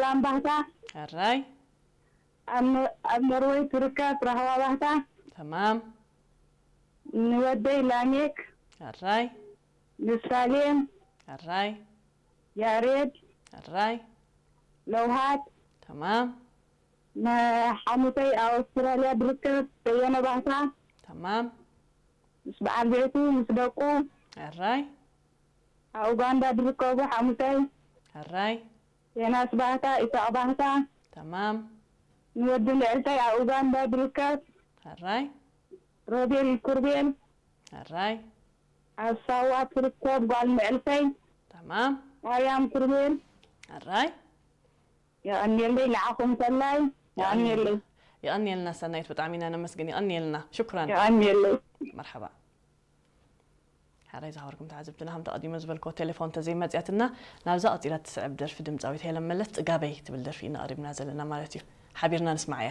ኣምባህታ። ሕራይ። ኣብ ኖርወይ ትርከብ ራህዋ ባህታ። ተማም። ንወደይ ላሜክ። ሕራይ። ንሳሌም። ሕራይ። ያሬድ። ሕራይ። ለውሃት። ተማም። ንሓሙተይ ኣብ ኣውስትራልያ ድርከብ በየነ ባህታ። ተማም። ምስ በዓል ቤቱ ምስ ደቁ። ሕራይ። ኣብ ኡጋንዳ ድርከቡ ሓሙተይ። ሕራይ። ዮናስ ባህታ፣ ኢሳቕ ባህታ። ተማም። ንወዲ ልዕልተይ ኣብ ኡጋንዳ ድርከብ። ሕራይ። ሮቤል ኩርቤል። ሕራይ። ኣብ ሳዋ ትርከብ ጓል ልዕልተይ። ተማም። ማርያም ኩርቤል። ሕራይ። የቐንየለይ ንዓኹም ሰናይ። የቐንየለይ። የቐንየልና ሰናይት፣ ብጣዕሚ ኢና ነመስግን። የቐንየልና። ሽኩራን። የቐንየለይ። መርሓባ። ሕራይ ዝኸበርኩም ተዓዘብትና፣ ከም ተቐዲመ ዝበልክዎ ቴሌፎን ተዘይመፅያትና፣ ናብዛ ቀፂላ ትስዕብ ደርፊ ድምፃዊት ሄለን መለስ ፅጋበይ ትብል ደርፊ ኢና ቀሪብና ዘለና ማለት እዩ። ሓቢርና ንስማዓያ።